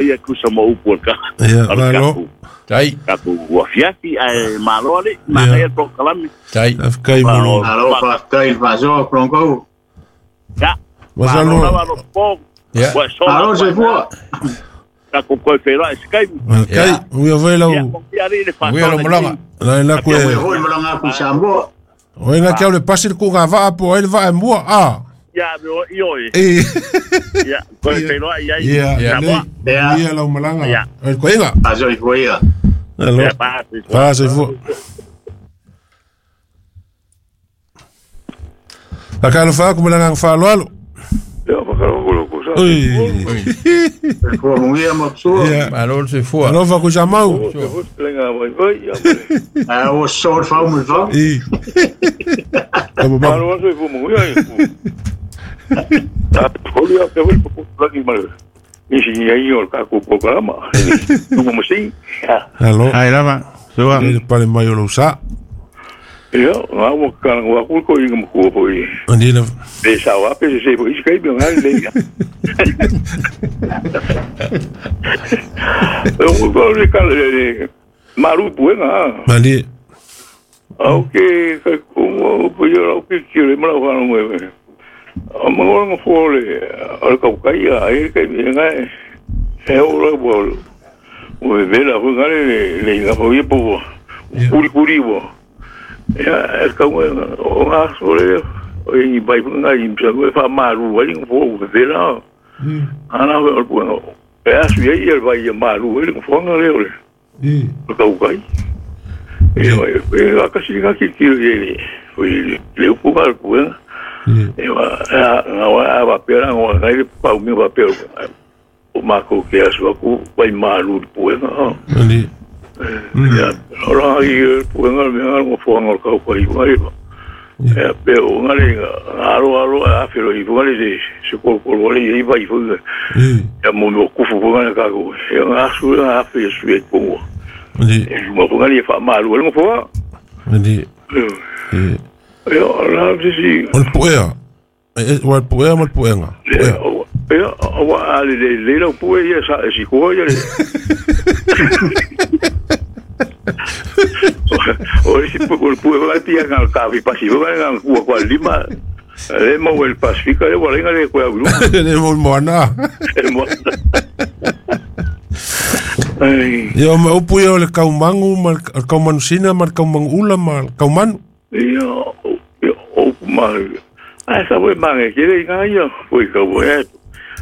Ia tusa ma upu o le Ia, o le malo. tatou Tai. tatou afiafi ae malo alii, manaia le polokalame. Tai. Faafetai mo lou. Malo faafetai i le faasoa Bronco. Ia, Masalo. malo lava Lopo. Ia. Ua e sola Malo atu ai soifua. tatou toe feiloai i se taimi. Faafetai. Ia. Uia foi lau. Ia, manuia alii le Manuia faasoa lau malaga. La la Ia koe. foi malaga aku i Samoa. O ina kia o le pasi le kuga vaa po ai le vaa e mua. Ah. Ia, me o ioe. E. Ia, toe feiloai ai. Ia. Ia. Lelei. Ia. Manuia lau malaga. Ia. O le koiga. Faasoifua ia. Alo. Ia, pa, soifua. Pa, soifua. Fakalofa aku ma le agaga faaaloalo. Ia whakarongolo sa. Ui. Soifua manuia ma sua. Ia. Malo le soifua. Alofa ku sa mau. Te lenga vai vai ia. Ae ua sosoo le fau ma le fau. I. Ka mo ba. Malo aso i fumu ia. Ta poli a te wei po lagi mal. Ni si ia i o ka ku programa. Nu mo si. Alo. Ai lava. Sua. Le pale mai o lou sa. Ia, ngā mo ka ngā ku ko i ngā ku po i. Ani la. E sa wa pe se po i kai bi ngā le. O ko le ka le maru pu ngā. Mali. Au ke ka ku mo po i au ke ki le mala wa mo e. O mo ngo fo le o ka ka ia e ka mi ngā e o la bo. O ve la fu ngā le le ngā po i po. Kuri kuri bo. Ia e ka mo o ngā so le o i bai fu ngā i msa ko fa maru wa ni fo ve la. Ana o pu e asu ia i vai ia maru e fo ngā le o le. I. O ka ukai. E e a kasi ngā ki ki le o i le upu ka pu e. I. E wa a ngā wa a wa pera ngā ngai le pau mi wa pera. O mako ke asu aku vai maru pu e ngā. Ani. Ia ora i pu e ngā me ngā ngā fo ngā ka ukai ngai. E pe o ngā le aro aro a whiro i ngā le se koro koro le i vai fu. I. Ia mo mo kufu fu ngā ka ko. E ngā asu ngā afe su e pongo. Ani. E mo fu ngā le fa maru le mo fo. Ani. I. Ia la se si O le puea. E o le puea ma le puenga. Ia, Puea. ia, o a le le le lau pue ia sa si ko ia le. O si pu o pue va pia ngal ka vi pasi va ngal ku ko lima. Le mo el Pasifika le wala ngal ko ya lu. Le mo moana. El mo. Ai, Ia ma upu ia o le kaumangu ma le kaumanusina ma le kaumangula ma le kaumanu. ia ia o ma. Ai sa we mange ke le ngai ia foi ka we.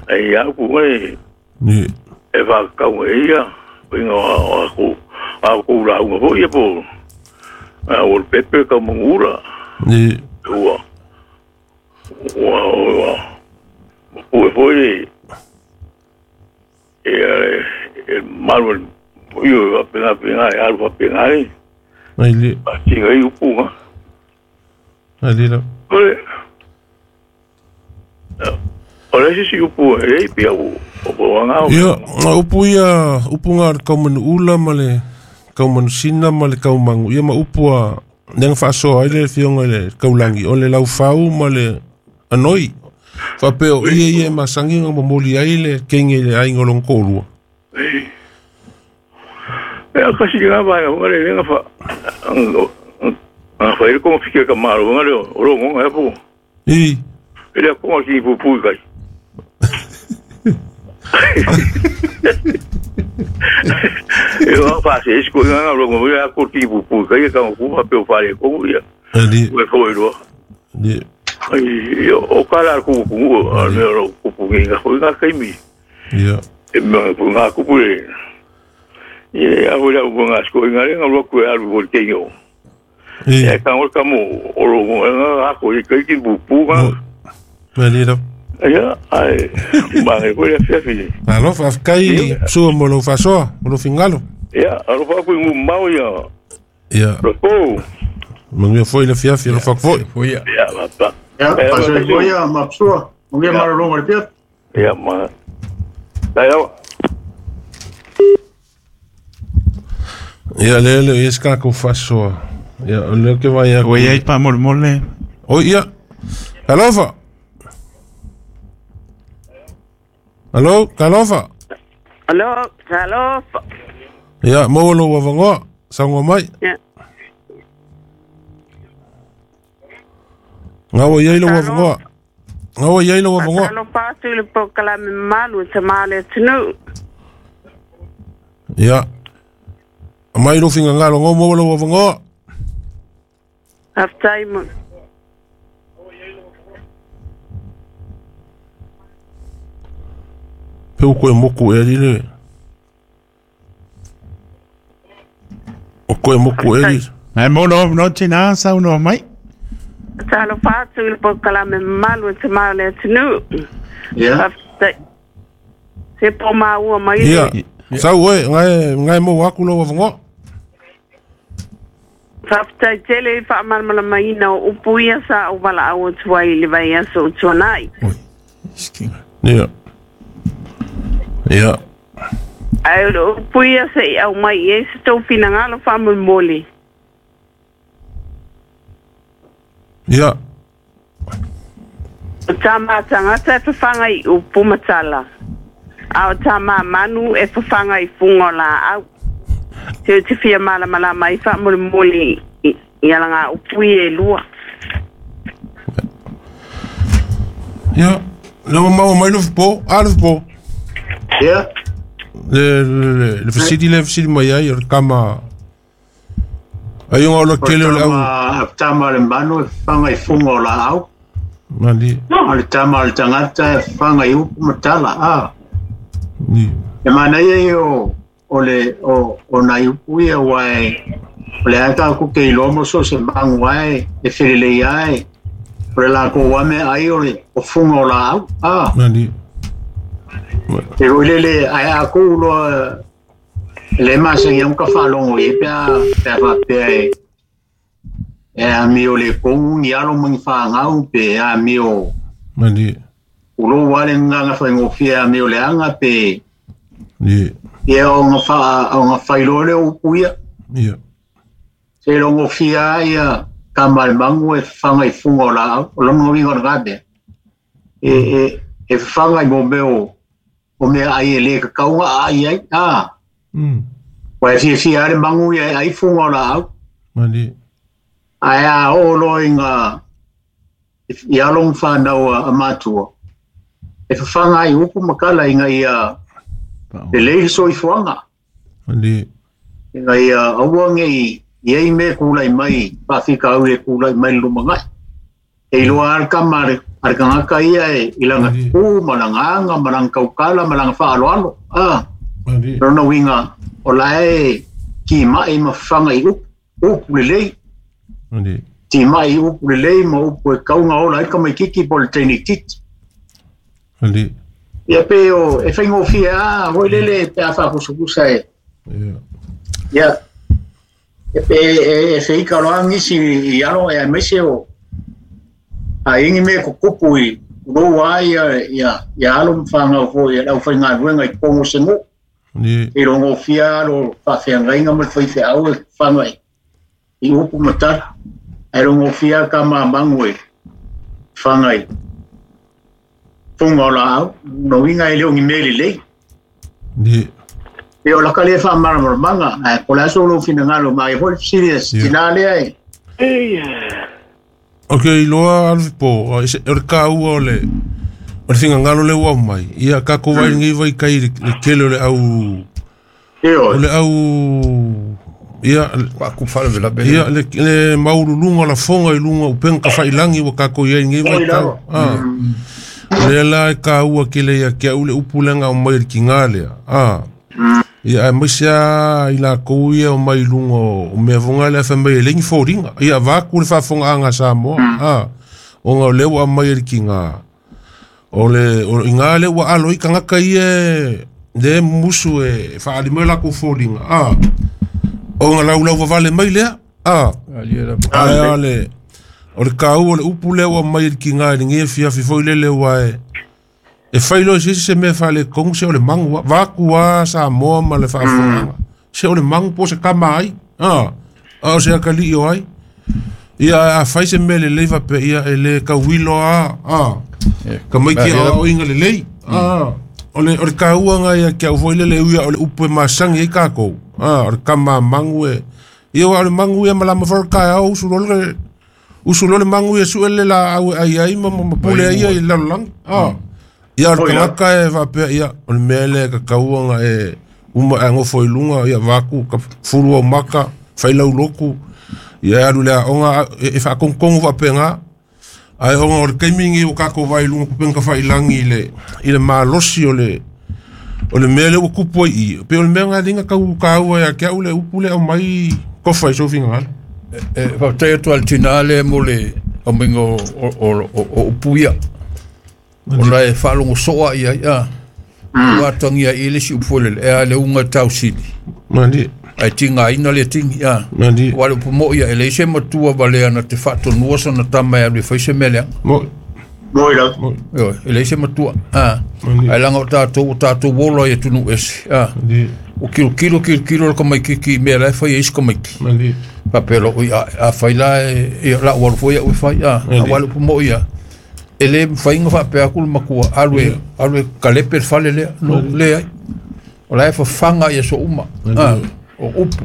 Ai ya ku we Ni. e va kau e ia o inga o ku a ku la unga ho ia po a o pepe ka mangura Ni. ua ua ua o e foi e e maru io a pena pena e alu a pena e Ai le. a tinga i upunga Ai le la. ole ole si si upu e i pia o o anga Ia, ngā upu ia, upu ngā le kaumanu ula ma le kaumanusina ma le kaumangu. Ia ma upu a nega faasoa ai le fionga i le kaulangi. O le laufau ma le anoi. Faapea o ia ia e masangi nga momoli ai le kenge i le aiga o lona toalua. E a kasi ngā vai ngā le ngā fa ngā fa ile konga fike ka maro ngā le o ro ngā po. I. Ile konga ki pu pu kai. E ngā fa se ko ngā ro ngā ko ki pu pu kai ka ku fa pe o fa le ko ia. Ali. Ue fo ro. Ni. Ai o kala ku ku a me ro ku pu ngā ko ngā kai mi. Ia. E me ku ngā ku pu le. Ia a hula ku ngā sko ngā le ngā ro ku alu ko te ngō. I. E ka ngol ka mo o ro ngā ko i kai ki pu pu ngā. Ali la. Ia ai ma e ko le fiafi. Alo, faafetai sua mo lou faasoa, mo lou fingalo. Ia alo fa ku ngu mau ia. Ia. Ro ko. Manuia foi le fiafi, alofa aku foi. Foi ia. Ia ma pa. Ia, faasoifua ia ma sua. Manuia malologa i le fiafi. Ia ma. Tai au. Ia le le ia se kākou faasoa. Ia, o lea ke vai aku. Ua iai paamolemole. Oi, ia. Alofa. Alo, Talofa. Alo, talofa. Ia, maua lou avanoa, saunoa mai. Ia. Gaua i ai lou avanoa. Gaua i ai lou avanoa. Talofa atu i le polokalame mamalu e tama le atunuu. Ia. Aumai lou finagalo, gau maua lou avanoa. Faafetai mo. Pe ua koe moku ea le. O koe moku ea li. Ai mo no no tina saunoa mai. Talofa atu i le polokalame mamalu e tama le atunuu. Ia. Faafetai. Se po maua mai Ia. le. Sau oe, ngai maua atu lou avanoa. Faafetai tele i faamalamalamaina o upu ia sa ou valaau atu ai i le vaiaso o tuanai. Ia. Ia. Ae o le upu ia se i aumai i ai se tou finagalo faamolemole. Ia. O tā tagata e fafaga i upu ma tala. A o tā manu e fafaga i fuga o laau. Se o te fia malamalama ai faamolemole i alaga upu ia e lua. Ia. Le ua maua mai le po, a le po. Ia. Le fesili le fesili mai ai o le kama. Ai o le kele o le au. O le tama le manu e fafaga i fuga o laau. Mali. O le tama o le tagata e fafaga i upu ma tala. A. Ni. E manaia ia o le o nai upu ia ua e o le ata ku ke iloa mo so se magu ae e felelei ae o le lakou ame ai o le o fuga o laau. A. Mali. E oi lele ae a kou loa le masani au ka faalogo i ai pe a faapea e amio le kogu ni alo ma ni fagau pe amio Mali. ulou lava le gagaga faigofie amio leaga pe Ni. ia o ga failoa lea o upu ia. Ia. Se logofia ai ia kama le magu e fafaga i fuga o laau o lona uiga o lena mea e fafaga i mo mea o mea ai e lē kakauga aai ai a. Ua e fiafia lava le magu ia e ai fuga o laau. Mali. Ae a oo loa i ga i alo ma fanau a matua e fafaga ai upu ma kala ina ia lelei le soifuaga. Mali. Ina ia aua nei i ai mea kulai mai faafikauli e kulai mai le lumanai. E iloa lava le kama a le tagata ia e i lana ku ma lana aga ma lana taukala ma lana faaaloalo. A. Lona uiga o lae timai ma fafaga i upu, upu lelei. Timai i upu lelei ma upu e kauga ola ai tamaititi po o le teinititi. Ia pe o e faigofie a foi lele pe a faapusapusa e. Ia. E pe e feika loa nisi i alo e aemaise o aiga mea kukupu i lou a ia alo ma fagau foi e le aufaigaluega i totonu o se nuu. E logofia alo faafeagaiga ma le faifeau e fafaga i upu ma tala. Ae logofia kama magu e fafaga i fuga o laau. Lona uiga e le o ni mea lelei. E o laka lea faamalamalamaga ae po o le aso lou finagalo ma ai foi le fesili a se tinā lea e. Ok, iloa alofi po, o le kāua o le finagalo le ua aumai. Ia kākou vai lenei vaikai i le tele o le au o le au ia ia le maululuga o lafoga i luga o upega tafailagi ua kākou i ai lenei vaitau. O lea la e kāua tele ia te au le upu lea na aumai e le tigā lea. Ia aemaise lava i lakou ia o mai i luga o mea foga lea fai mai e leai ni foliga. Ia avatu le faafofogaaga a Samoa. Ona o lea ua aumai e le tigā. O le iga lea ua alo ai tagata ia lea e mumusu e faaali mai lakou foliga. Ona laulau vavale mai lea. Ae o le kāua o le upu lea ua aumai e le tigā i lenei afiafi foi lele ua e fai loa se isi se mea faaletonu se o le magu vaatu a Samoa ma le faafofogaaga. Se o le magu po o se kama ai. A o se atalii o ai. Ia a fai se mea lelei faapea ia e le tauilo a. Tamaiti aoaoina lelei. O le kāua ngai a kia ufo ile le uia o le upu e masangi ai kākou. O le kama mangu e. Ia wa o le mangu ia malama wharakae au usulole mangu ia suele la au ai ai ma pule ai ai lalolangi. Ia o le tangaka e whapea ia o le mea le ka kauanga e uma e ngofo i lunga ia vaku ka furu au maka whailau loku. Ia alu lea onga e whaakongkongu whapenga. Ai onga o le kaimingi o kako vai lunga kupenga whailangi i le malosi o le mea le ua kupu ai i. Pe o le mea ngā linga kau kāua ia kia ule upu le au mai kofa i sofinga ngāle. E whakatei atu al tina le mo le aminga o upu ia. Ona e whalongo soa ia ia. Ua tangia i le si upu le e a le unga tau sili. Mandi. Ai tinga ina le tingi ia. Mandi. Wale upu mo ia ele ise matua wale ana te whaatonua sana tama e alu e whaise mele. Mo. Moi la. Ele ise matua. Ai langa o tātou wolo ia tunu ese. O kilo kilo kilo kilo ka mai kiki mea lai whai eis ka mai ki. Mandi. Papelo o a whai la e la walu fo ia o whai a walu upu mo ia. Ele whainga whapea kulu makua alue kalepe whale lea no lea. O la e whawhanga ia so uma. O upu.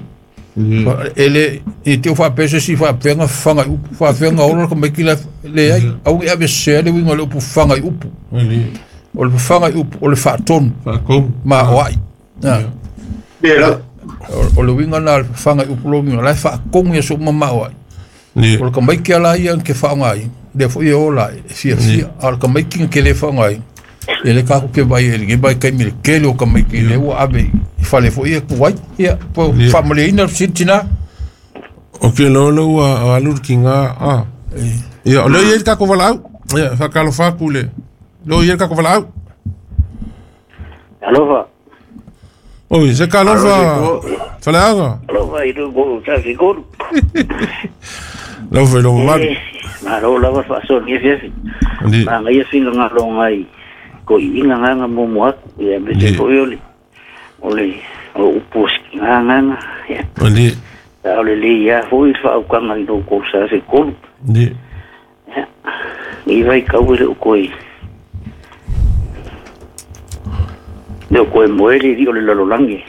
Ele i te whapese si whapenga whanga upu. Whapenga ora ka mai ki lea. Au i awe sea le winga le upu whanga i upu. O le whanga i upu o le whaatonu. Ma o ai. O le winga nā le whanga i upu lo winga. Lai whaakongu ia so uma ma o ai. O le ka mai ki ala ia ke whaonga ai. Le fo ia ola e fia fia. A le ka mai ki ke le whaonga ai. E le kako ke vai e le vai kai mi le kele o ka mai ki le ua ave i whale fo ia kuai. Ia, po whamale ina sintina. O ke lolo ua alur ki ngā. Ia, o leo ia i kako wala au. Ia, whakalo whaku le. Leo ia i kako wala au. Alofa. Oi, se ka alofa. Whaleanga. Alofa, i rungo tasi koru. Lau whai longo maru. Ngā rau lawa whaaso ni fiafi. Ngā ngai finga ngā longa i ko i inga ngā momo aku. Ia, me te po i ole. Ole, o upu ski ngā ngā. Ia. Tā ole le ia hoi whaukanga i rō kousa se koru. Ia. I vai kauere o koe. Leo koe moere ri o le lalolangi.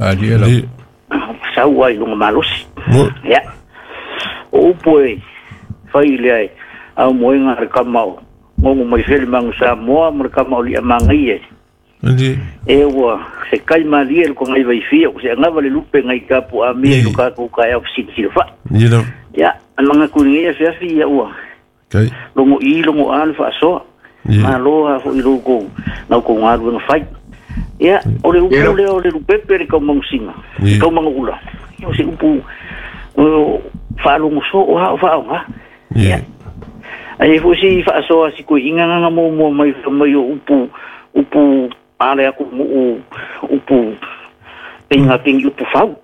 Ali e lau. Sau ai lunga malosi. Ia. O upu e whai lea e au moenga re kamau. Ngongo mai whele mangu sa moa mo re kamau lia mangai e. E ua se kai malie le kongai vai fia. O se angawa le lupe ngai kapu a mea i luka kuka e au sini wha. Ia, manga kuningi e whiawhi ia ua. Longo i, longo a le whaasoa. Mā loa fo i rō nau ko ngā ruenga whai. Ia, o le upu lea o le lupepe le kaumangusinga. Kaumangu ula. Ia o se upu whaalongo so o hao whaonga. Ia. Ai fo si whaasoa si koe inga nganga mō mai mai o upu upu ale aku mu upu pinga pingi upu fau.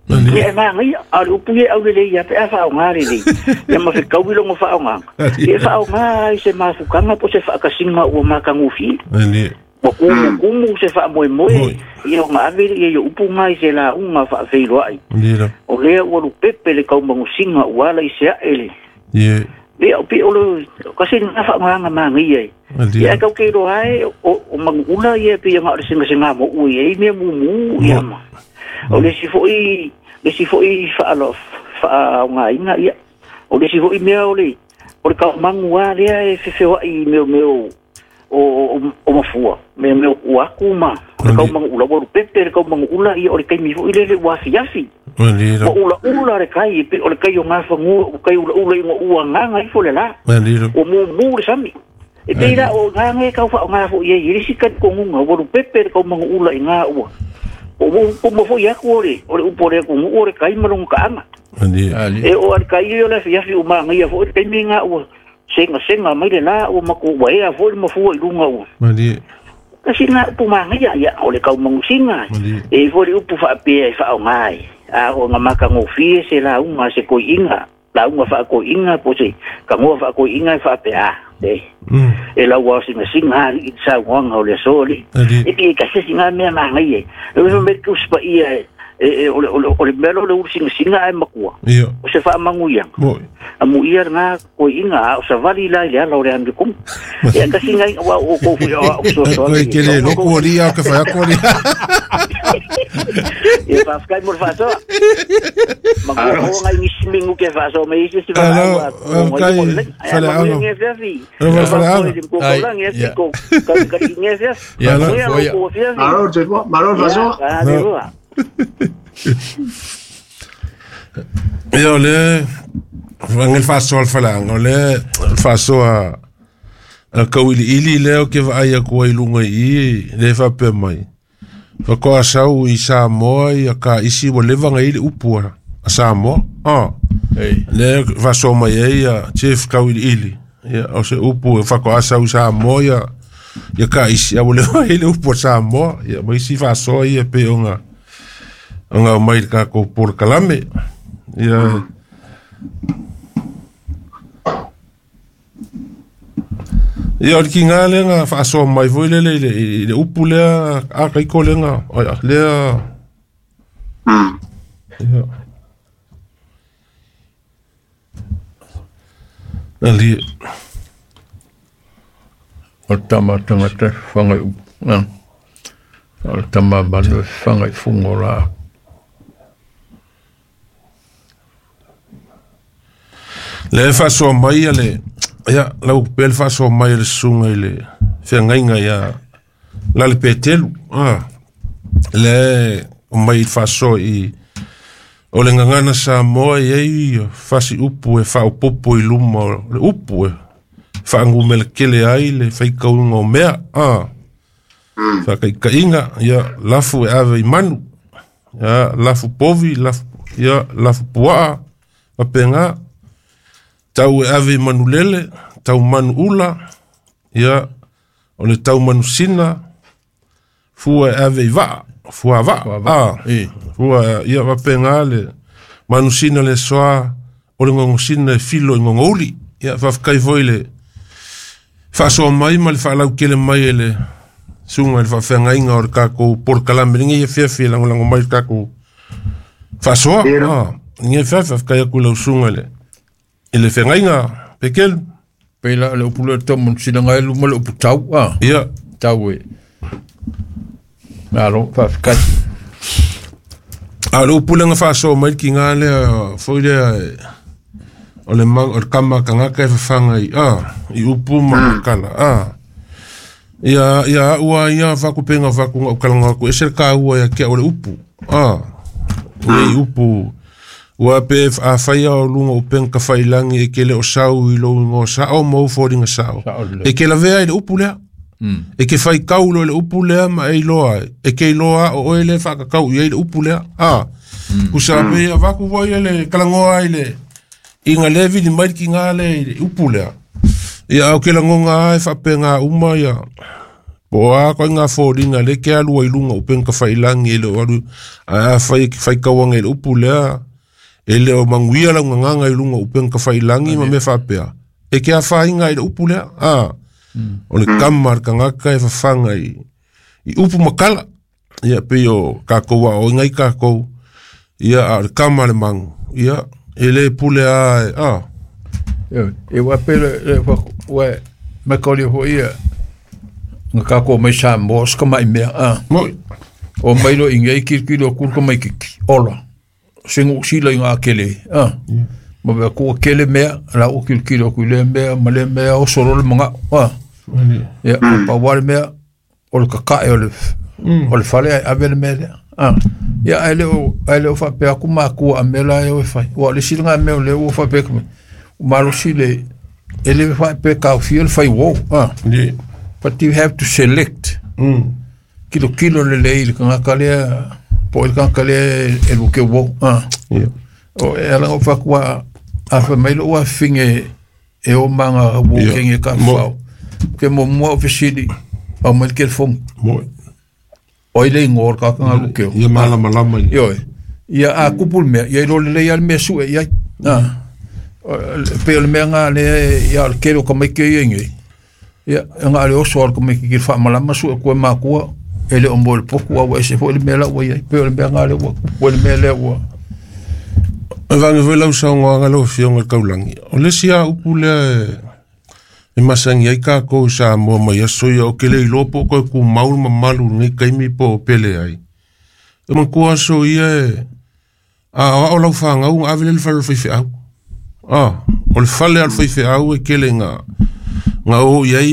Ia e maa ngai a le upu ia au le ia pe a whaonga le le. Ia ma whikau i longo whaonga. Ia whaonga i se mafukanga po se whaakasinga ua makangufi. Wa kumu kumu se wha moe moe. Ia o ngā avere ia ia upu ngai se la unga wha whiro ai. O lea ua lupepe le kaumangusinga ua ala i se ae le. Lea o pe o le kasi ngā whaonga maa ngai ai. Ia kau ke roa ai o mangula ia pe ia ngā o le singa singa mo ui e mea mumu ia ma. O le si foi le si foi whaonga inga ia. O le si foi mea o le kaumangu a lea e whiwhewa i meo meo o mafua me me o aku ma le kau mangu ula waru pepe le kau mangu ula ia o le kaimi fo ile le wafi afi o ula ula le kai pe o le kai o ngā whangua o kai ula ula i ngā ua ngā ngā ifo le la o mu mu le sami e pe ira o ngā ngā kau wha o ngā fo ia i risi kai ko ngunga waru pepe le kau mangu ula i ngā ua o mu fo i aku o le upo le aku ngu o le kai malonga ka anga e o al kai o le afi afi o maa ngai fo i le kaimi ngā ua senga senga mai le la o mako waea fo le mafua i lunga ua. Kasi ngā upu maangaia ia o le kaumangusinga. E fo le upu whaapea e whaonga ai. A o ngā makangofie se la unga se koi inga. La unga whaakoi inga po se kangoa whaakoi inga e whaapea. E lau wao singa singa i sa wanga o le soli. E pi e kasesi ngā mea maangaia. E wha me kuspa ia E o le mea le ulu singasinga ai makua. O se faamanguiaga. Amuia lena koiiga a o savali la i le ala o le anu kumu. Ia tasi ngai ua o kou fui o so so. Ke le loku ali a ke fai ko ali. Ia faafetai mo le faasoa. Makua o ngai nisi mingu ke faasoa mai isi si faaua. Fale alo. Fale alo. Ia malo malo faasoa. Ia o le vangel faasoa le faleaga o le faasoa a kauiliili lea o ke vaai aku ai luga i i le faapea mai faatoa sau i Samoa ia ka isi ua leva ga i le upu a Samoa le faasoa mai ai ia Chief Kauiliili ia o se upu faatoa sau i Samoa ia ia ka isi a ua leva ai le upu a Samoa ia ma isi faasoa ia pei ona ona mai le tatou polokalame ia. Ia o le kiga lea na faasoa mai foi lele i le upu lea a kaiko lea na lea. Ia ali o tama tangata whangai upu. O tama manu whangai fungo la. Le faasoa mai a le ia lau pe le faasoa mai le susuga i le feagaiga ia la le Petelu le o mai i le faasoa i o le gagana Samoa i ai fasi upu e faaopopo i luma o le upu e faagumele ai le faikauga o mea faakaikaiga ia lafu e ave i manu ia lafu povi lafu ia lafu puaa faapega tau e ave i manulele tau manu ula ia o le tau manusina fua e ave i vaa fua vaa fua ia faapega le manusina le soa o le gogosina e filo i gogouli ia faafetai foi le faasoa mai ma le faalautele mai e le suga i le faafeagaiga o le tatou polokalame lenei e fiafia lagolago mai le tatou faasoa lenei fiafia faafetai atu i lau suga i le feagaiga Pekelu. Pei la le upu le tau sina ngai luma le upu tau ia tau e malo faafetai. A le upu lenga faasoa mai le kiga lea foi lea o le o le kama kangaka e fafaga i i upu ma makala ia ia ua ia fakupenga fakunga o kalanga aku ese le kaua ia kia o le upu nei upu ua pe a faia o luga o penga kafailangi e ke le o sau i lou igoa sao ma ou foliga sao e ke lavea i le upu lea e ke faikau lo i le upu lea ma e iloa e ke iloa o oe le faakakau i ai le upu lea kusa pe avaku foi le kalagoa i le iga le vili mai le kiga le i le upu lea ia au ke lagoga e faapega uma ia po a koe ngā foliga le ke alua i luga o penga kafailangi e le o alu a fai faikauaga i le upu lea e le o manguia lau gagaga i luga o upenga kafailangi ma mea faapea e ke afaina i le upu lea o le kama le kagaka e fafaga i upu makala ia pei o kakou aoiga i kakou ia a o le kama le magu ia e lē pule a e ua pe le ua me kauli foi ia nga kakou mai Samoa se kamaʻi mea moi o mai lo i nei kilokilo kulu ka mai kiki ola sengu sila i ngā kele ma mea kua kele mea la o kilokilo ku le mea ma le mea o solo le manga ia pa wale mea o le kakae o le fale ai ave le mea lea ia ai le o faapea aku makua a mea la e o e fai ua le sila ngā mea o le ua faapea ku malosi le e le faapea kaufia le fai wou but you have to select kilokilo le lei le kangaka lea po le kangaka lea e luke wou o e ala o fakua a fa mai lo ua finge e o manga wo kenge ka fao ke mo mo ofisili au mai ke fong o ile ngor ka ka luke ia malama lama ia ia a kupul me ia lo le ia me su ia pe le mea ngā le ia le kelo ka mai ke ia ngi ia ngā le oso ka mai ki fa malama su ko makua E le o mo le poku a ua ese foi le mea la ua iai. Pe o le mea ngā le ua kupu le mea lea ua. E vange foi lau saunoaga lau Afioga i le Taulagi. O le isi lava upu lea e masani ai tatou i Samoa mai aso ia, ou te le iloa po o toe tumau le mamalu i lenei taimi po o pele ai. E manatua aso ia e a aoao lau fanau ona ave lea i le fale o le faifeau. O le fale lava o le faifeau e tele ina o i ai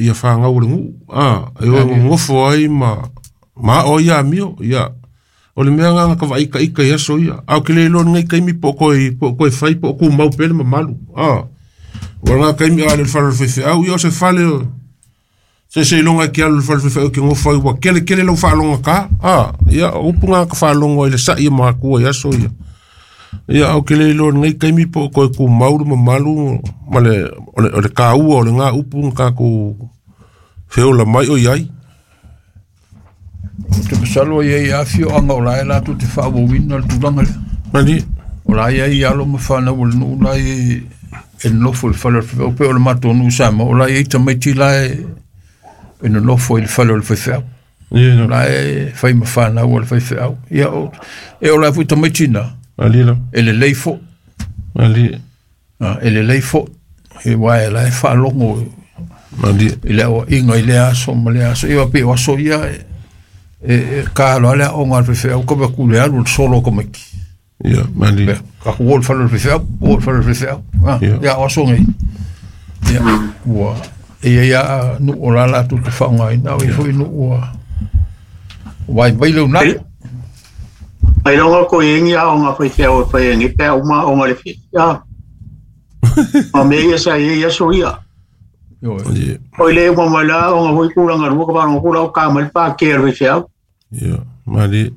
ia fanau o le nuu. E o e nonofo ai ma ao ai amio. Ia, o le mea lena na ka vaai itaita i aso ia. A ou te le iloa i lenei taimi po o toe fai po o tumau pea le mamalu. Ua lena taimi a le fale o le faifeau, ia o se fale o se seiloga e te alu i le fale o le faifeau e te nofo ai ua tele tele lau faalogogata. Ia, o upu na ka faalogo ai le sai o matua i aso ia. Ia, ou te le iloa i lenei taimi po o toe tumau le mamalu ma le o le taua o lena upu na tatou feola mai o i ai. Ou te masalo e i ai afioaga o la e latou te faaauauina le tulaga lea. Mali. O la e i ai alo ma fanau o le nuu la e nonofo i le fale o le faifeau. Pei o le matou nuu i Samoa, o la e i ai tamaiti la e nonofo i le fale o le faifeau. Ia. O la e fai ma fanau a le faifeau. Ia, e o la foi tamaiti na, Ali la. e lelei foi. Ali. E lelei foi. E uae e la e faalogo Ali. i le aoaiga i lea aso ma lea aso. Ia pei o aso ia e ka loa le aoga a le faifeau ka atu le alu le solo o tamaiti. Ia, mali. Ka ku o le fale o le faifeau, o le fale o le faifeau. Ia, o aso nei. Ia, ua e ia ia nuu o la latou te faaaogaina, o ia foi nuu ua vaivai le uunai. Ai longa ko yengi a onga faifeau e fai ngi pe uma onga le fi. Ya. Ma me ia sa ia so ia. Ioe. O ile uma mai la onga hoi kulanga rua ka ba kula o ka mai pa ke le faifeau. Ia, mali.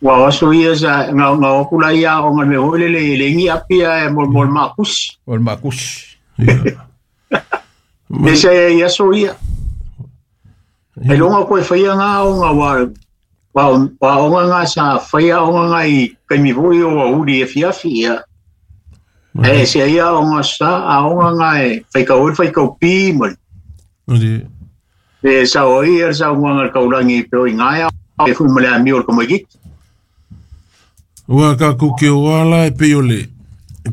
Wa aso ia sa nga nga o kula ia onga me hoi le le le ngi apia e mol mol makus. O le makusi. Ia. Me sa ia so ia. Ai longa ko e fai nga onga wa wa onga nga sa fai onga nga i kaimi foi o uri e fiafi ia. E se ia onga sa a onga nga e fai ka oi fai ka pi mo. Ali. E sa oi e sa onga nga kaurangi pe oi ngaia e fui male a mi o komoiki. Ua ka ku ke o ala e pe o le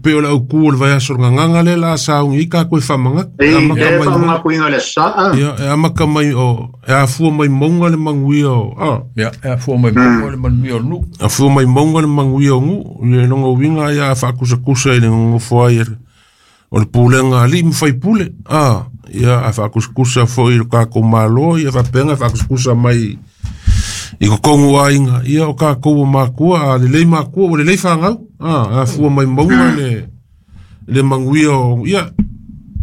pe o le au ku o le vaiaso o le gagaga lea la sauni ai takou e faamagata. E E amata e mai fa nga kuinga le sa. Ia, e amata mai o e afua mai mauga le manuia o Ia, e afua mai mauga le manuia o le nuu. Afua mai mauga le manuia o nuu. I le lona uiga ia a faakusakusa i le nonofo ai o le pulega a alii ma faipule. Ia a faakusakusa foi i le tatou Malo, ia faapena e faakusakusa mai i totonu o aiga. Ia o tatou o matua, a lelei matua ua lelei fanau. A afua mai mauga le manuia o ia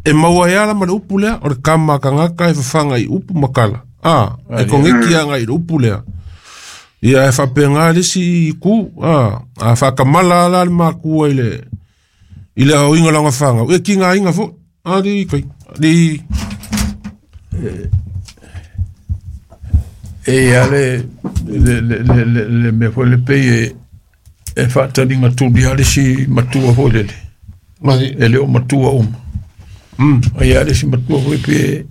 e maua ai ala ma le upu lea o le kama a tagata e fafaga i upu ma tala. E kogeki agai i le upu lea. Ia e faapena le isi itu. A faakamala ala le makua i le aoiga o lana fanau, e kigaina foi. Ali kai ali. E ia le le le le le le mea foi le pei e faataliga tuli a le isi matua foi lele. Mali. E le o matua uma. A ia le isi matua foi pe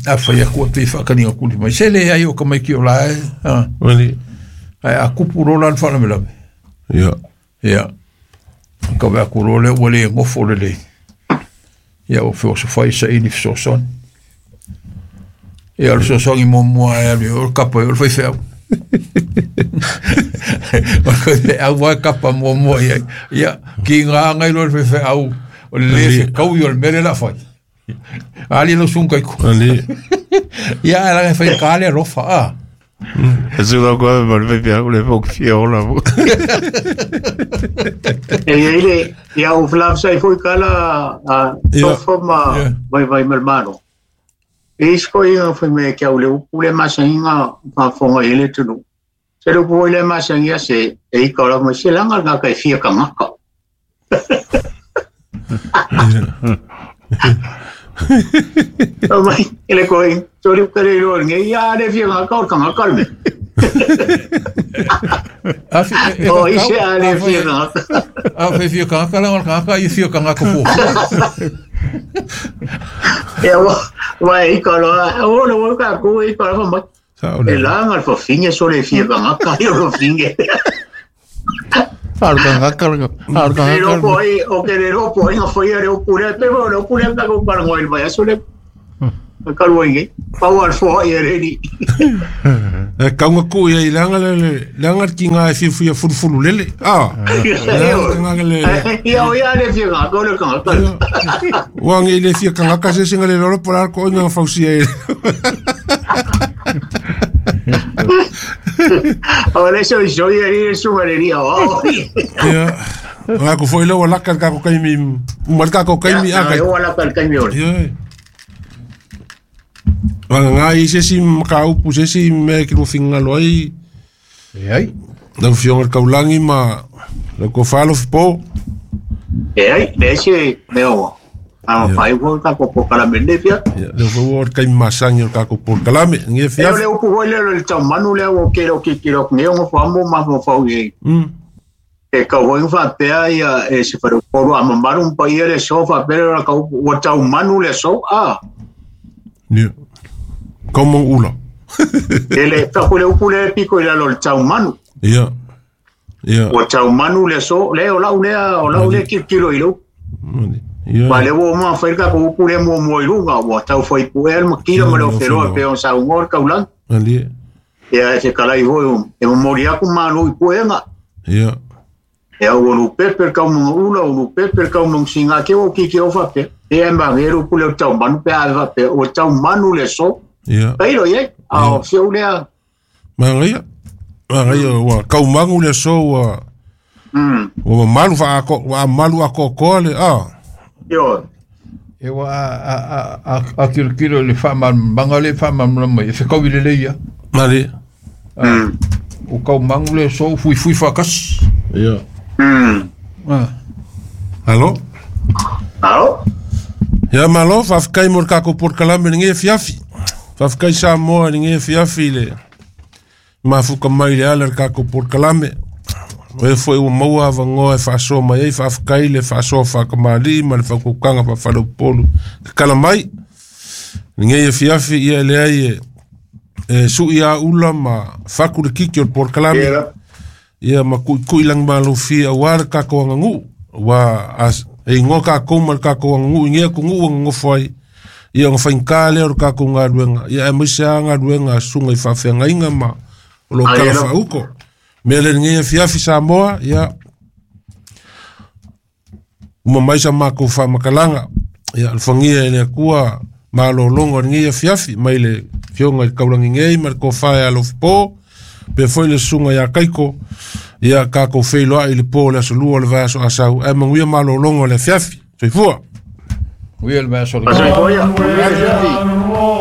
a fai aku pe faataliga tuli mai. Se le ai o ka mai ki o la e. Mali. Ai a kupu lola le faalavelave. Ia. Ia. Ka vea ku loa lea ua le gofo lelei. Ia o feosofai saili fesoasoani. Ia o le fesoasoani muamua e alu o le kapa o le faifeau. O le faifeau lava e kapa muamua i ai. Ia, kiga agai loa le faifeau o le lē fekaui o le mea lea o le a fai. Ali lau sugu kaiku. Ali. Ia ae laga e faigata le alofa a. E sula ko ma le fia le fok fia ola. E ia ile ia o flav sa foi kala a tofo ma vai vai malmano. E isko ia foi me kia ule upu le masanginga whafonga i le tunu. Se le upu le masangia se e ika ora mo se langa ngā kai fia ka ngaka. O mai, ele koi, tori ukere iro nge ia le fia ngaka o ka ngaka me. O ise a le fia ngaka. A fe fia ka ngaka la ngaka i fia ka ngaka fo. Ia wa ika loa, o le wa ka ku ika loa mai. Sa'o E le. laga le fafine so le fia vagaka i o fafine. Alu kangaka alu Le lopo kangaka. ai, o ke le lopo ai nga faia le upu lea, pe o le upu lea ka ko palango i le vaiaso le. Ka lua inge. Pau al foa i le ni. E kaunga ku ia i leanga le leanga le kinga e fia fulufulu lele. Ah. Leanga le. Ia o ia le fia ngaka o le kangaka. Ua ngi le fia kangaka se singa le lolo pola ko inga fausia e. O le so so ia ni su maleria o. Ia. Nga ko foi le wala ka ko kai mi mal ka ko kai mi a kai. Ia wala ka kai mi ore. Ia. Wanga ngā i se si makaupu se si me ki rufinga loi. E ai. Lau fionga kaulangi ma lau ko falo po. E ai, le se me o. A fai wo ka ko ko kala mende fia. Ia, leo foi o kai masangi o kako por kalame. Ngi E fia. le upu hoi le le tau manu le o ke o ke ke o ne o fa mo ma mo fa i. E ka hoi fa pea ia e se fa ko a mamaru pa ia le so fa pea ka o tau manu le so a. Ia. Como ula. E le fa ko le upu le piko le lo tau manu. Ia. Ia. O tau manu le so le o lau le o lau le ki kilo i lo. Ia. Ma le o ma fa ka ko upu le mo mo i lunga o tau fa i pu el ma kilo ma le o feroa pe o sa ngor ka ulang. Ali. Ia se kala i hoi e mo mori aku manu i puenga. Ia. E au lu pepe ka mo ula o lu pepe ka mo singa ke o ki ke o fa pe. E ma veru pu le tau manu pe a fa pe o tau manu le so. Ia. Peiro ye a o se u le Ma ngai. Ma ngai wa kaumangu le so wa. Wa malu fa ko wa malu a ko ko le a. Yo. E wa a kilo kilo le fa ma manga le fa ma mla mai. E kau i le leia. Mali. O kau mangu le so fui fui fa kas. Ia. Ah. Alo? Alo? Ia malo, faafetai mo le kako polokalame lenei afiafi. Faafetai Samoa lenei afiafi le mafuka mai le ala le kako polokalame. O e foi ua maua avanoa e faasoa mai ai, faafetai le faasoa faakamalii ma le faakaukaga faafaleupolu tatala mai. Lenei afiafi ia e leai e su'i aula ma faku le kiki o le polokalame. Ia ma ku'iku'i lagimalofie auā le takou aganu'u ua e igoa takou ma le takou aganu'u i nei atunu'u ua nonofo ai. Ia ona faigata lea o le takou galuega ia aemaise a galuega a susuga i faafeagaiga ma o loo talafaauko. Mea le lenei afiafi Samoa ia uma mai sa makou faamatalaga ia alofagia e le Atua malologa o lenei afiafi mai le fioga i le kaulagigei ma le tofa e alofapo pe foi le susuga iā Kaiko ia takou feiloa'i i le pō o le aso lua o le vaiaso asau ae manuia malologa o le afiafi. Soifua. Uia le vaiaso. Soifua ia.